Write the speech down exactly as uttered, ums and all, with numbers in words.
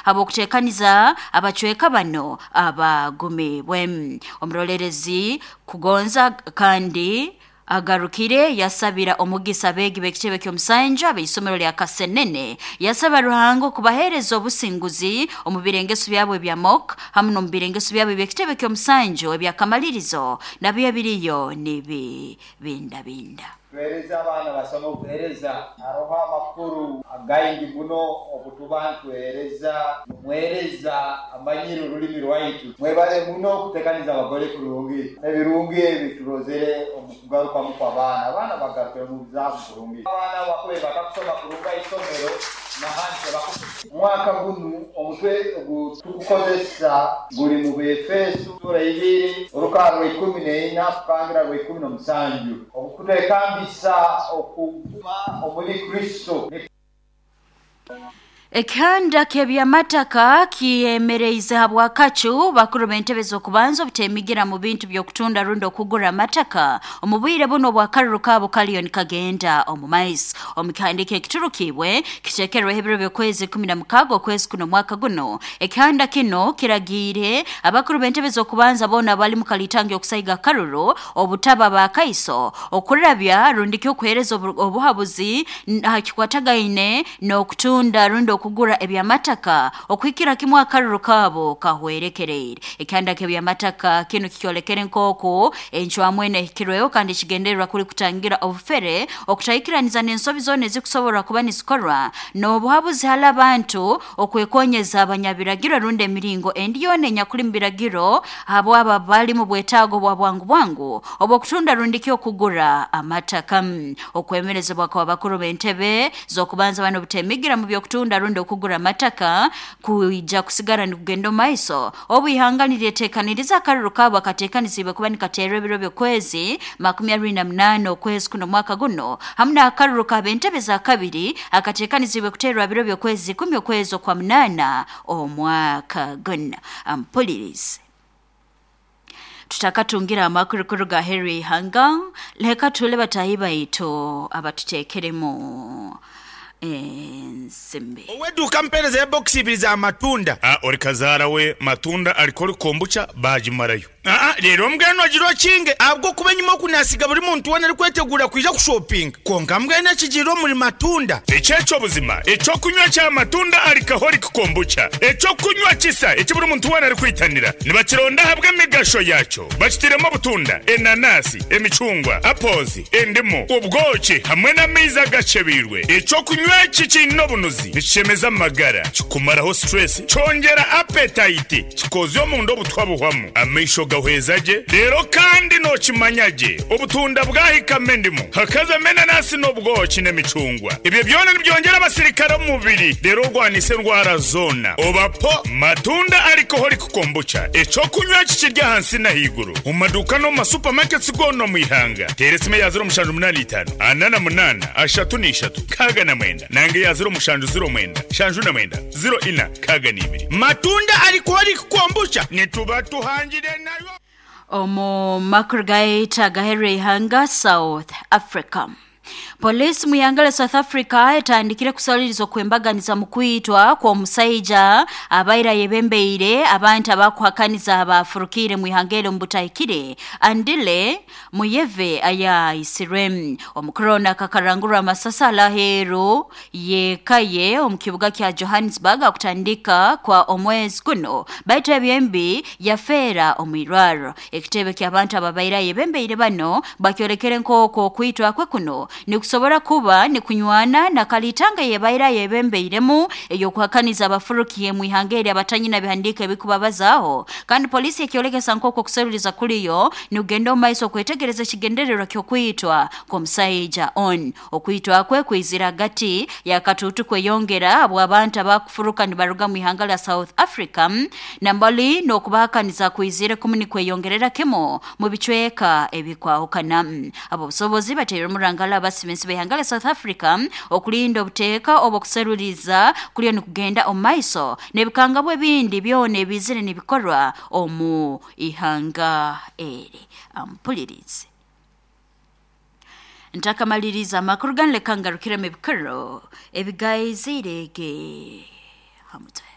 Habw'okuteekaniza abacweka bano abagumibwe. Omurolerezi Kugonza kandi agarukire yasabira omugisa abeegi b'ekitebe ky'omusanju ab'isomero lya Kasenene, yasaba Ruhanga okubaheereza obusinguzi omu birengeso byabo ebya mock hamu n'omu birengeso byabo eby'ekitebe ky'omusanju ebyakamalirizo nabyo ebiriyo nibibindabinda. Tuhereza abaana basoma obuhereza haroho amakuru againgi muno obutuba ntuhereza mwereza amanyire orulimi rwaitu. Mwebale muno okutekaniza abagore kurungi ebirungi ebi turozere omu kugarukamu kw'abaana. Abaana bagarukire mu bizaamu kurungi, abaana bakube bakakusoma kurungi aisomero nahandi tebakusoma. Omwaka gunu omutwe ogu tukukozesa guli mu Befeso sura ibiri orukaaro rwa ikumi neina kukangira rwa ikumi n'omusanju okukutekambisa okuguma omuri Kristo. Ekihanda ky'ebyamataka kiyemereize habwakacu bakuru b'entebe z'okubanza obutemigira mu bintu by'okutunda rundi okugura amataka omu bwire buno obw'akaruru kaabo kaliyo nikagenda omu maiso. Omu kihandiiko ekiturukibwe kiteekerweho ebiro by'okwezi ikumi na mukaaga okwezi kuno omwaka guno, ekihanda kino kiragiire abakuru b'entebe z'okubanza boona abali mu kalitangi okusaiga akaruru obutaba bakaiso okurabya rundi ky'okuheereza obuhabuzi ha kikwatagaine n'okutunda rundi okugura ebyamataka okuhikira kimu akaruru kaabo kahwerekereire. Ekihanda ky'ebyamataka kinu kikyolekere nk'oku encwamu enu ehikirweho kandi kigendererwa kuli kutangira obufere, okutahikiraniza n'ensobi zoona ezikusobora kuba nizikorwa n'obuhabuzi hali abantu okwekonyeza abanyabiragiro rundi emiringo endi yoona enyakuli mu biragiro habwabo abali mu bwetaago bwa bwangu bwangu obw'okutunda rundi ki okugura amataka. Okwemerezebwa kwa bakuru b'entebe z'okubanza bano obutemigira mu by'okutunda rundi okugura amataka kuija kusigara nikugenda omu maiso obu ihanga niryeteekaniriza akaruru kaabo akateekanizibwe kuba nikateerwa ebiro by'okwezi makumi abiri na munaana okwezi kuno omwaka guno hamu n'akaruru k'ab'entebe za kabiri akateekanizibwe kuteerwa biro by'okwezi ikumi okwezi okwa munaana omwaka guno. Ampulirize tutakatungira amakuru kuruga Henry Ihanga, leka tule batahi baitu abatuteekeremu ensimbi. Oweduka mpereza ya box ibiri za matunda. Ah, ori kazaara we matunda alikori kombucha bagimarayo. Aa, rero mbwenu agira okinge ahabwo kuba enyuma okunasiga buri muntu wena arikwetegura kwija kushopinga konka mbwenu ekigiire omuri matunda. Ekyekyo buzima ekyokunywa kya matunda alikaholic kombucha, ekyokunywa kisa eki buri muntu wena arikwitanira nibakironda ahabw'emigasho yakyo. Bakitiremu obutunda, enanasi, emicungwa, apozi, endimu, obwoki hamwe n'amaizi agacebiirwe. Ekyokunywa eki kiine obunuzi nikishemeza amagara, kikumaraho stress, kyongera appetite, kikozya omunda obutwa buhwamu, amaisho gahweza gye. Rero kandi nokimanya gye obutunda bwahikamo endimu hakazamo enanasi n'obwoki n'emicungwa, ebyo byona nibyongera abasirikare omu mubiri rero orwanisa endwara zoona. Obapo matunda alcoholic kombucha, ekyokunywa eki kiri ahansi n'ahaiguru omu maduuka n'omu masupamaketi goona omu ihanga. Teera esimu eya ziro mushanju munaana itaano ana na munaana ashatu n'ishatu kaaga na mwenda nange eya ziro mushanju ziro mwenda shanju na mwenda ziro ina kaaga n'ibiri. Matunda alcoholic kombucha nituba tuhangire nayo. Omu makuru gaita agaherire ihanga South Africa. Polisi mu ihanga lya South Africa etandikire kusaliriza okwembaganiza mu kwitwa kw'omusaija abaira yebembeire abantu abakuhakaniza abafurukire mu ihanga eryo mu butahikire Andile Muyeve ayaisirwe. Omukorona akakarangurwa amasasi alaheeru yekaye omu kibuga kya Johannesburg akutandika kwa omwezi guno, baitu ebyembi yafeera omu irwaro. Ekitebe ky'abantu ababaira yebembeire bano bakyolekere nk'okwo okwitwa kwe kuno nikusobora kuba nikunywana na kalitanga yebaira yebembeiremu eyokuhakaniza abafurukiye mu ihanga eri abatanyina bihandika ebikubabazaho. Kandi polisi ekyolekesa nk'okwo okuseruliza kuliyo nikugenda omu maiso okwetegereza ekigendererwa ky'okwitwa kw'omusaija on. Okwitwa kwe kwizira hagati yakatuutu kweyongera habw'abantu abakufuruka nibaruga mu ihanga lya South Africa nambali n'okubahakaniza kwizire kumu nikweyongerera kimu mu bicweka ebikwahukana. Abo busobozi bateire omurangala abasibensi b'ihanga lya South Africa okulinda obuteeka obw'okuseruliza kuliyo nikugenda omu maiso n'ebikangabwa ebindi byona ebizire nibikorwa omu ihanga eri. Ampulirize ntakamaliriza amakuru ganu leka ngarukiremu ebikoro ebigaizirege hamutwe.